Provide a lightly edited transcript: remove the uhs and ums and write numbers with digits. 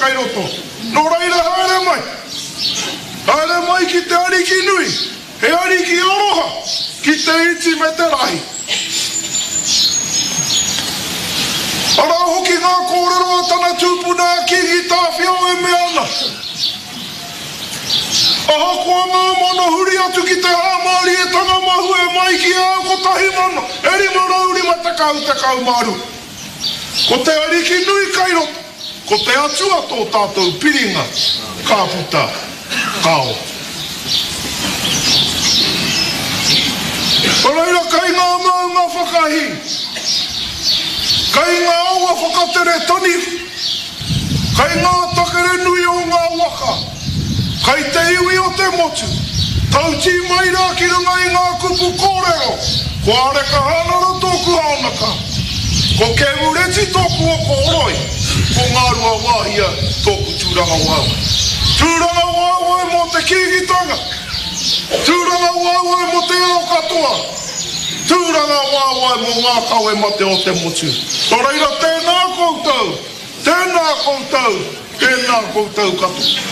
kai roto. Nō reira haere mai. Haere mai ki te Ariki nui, he Ariki aroha ki te iti me te rahi. Arā hoki ngā kōrero a tana tupuna a Kīngi Tāwhiao e mea ana, Ahakoa ngā mano huri atu ki te hāmārietanga mahue mai ki a au 1550 12. Ko te Ariki nui kai roto, ko te Atua tō tātou piringa, ka puta, ka ora. Nō reira kai ngā maunga whakahī, kai ngā awa whakatere taniwha, kai ngā takere nui o ngā waka, Kai te iwi o te motu, tautī mai rā ki runga i ngā kupu kōrero, ko Areka Hānara tōku haonaka, ko Kēmureti tōku oko horoi, ko Ngāruawāhia tōku tūrangawaewae. Tūrangawaewae mō te Kīngitanga, tūrangawaewae mō te ao katoa, tūrangawaewae mō ngā kawe mate o te motu. Nō reira tēnā koutou, tēnā koutou, Tēnā koutou katoa.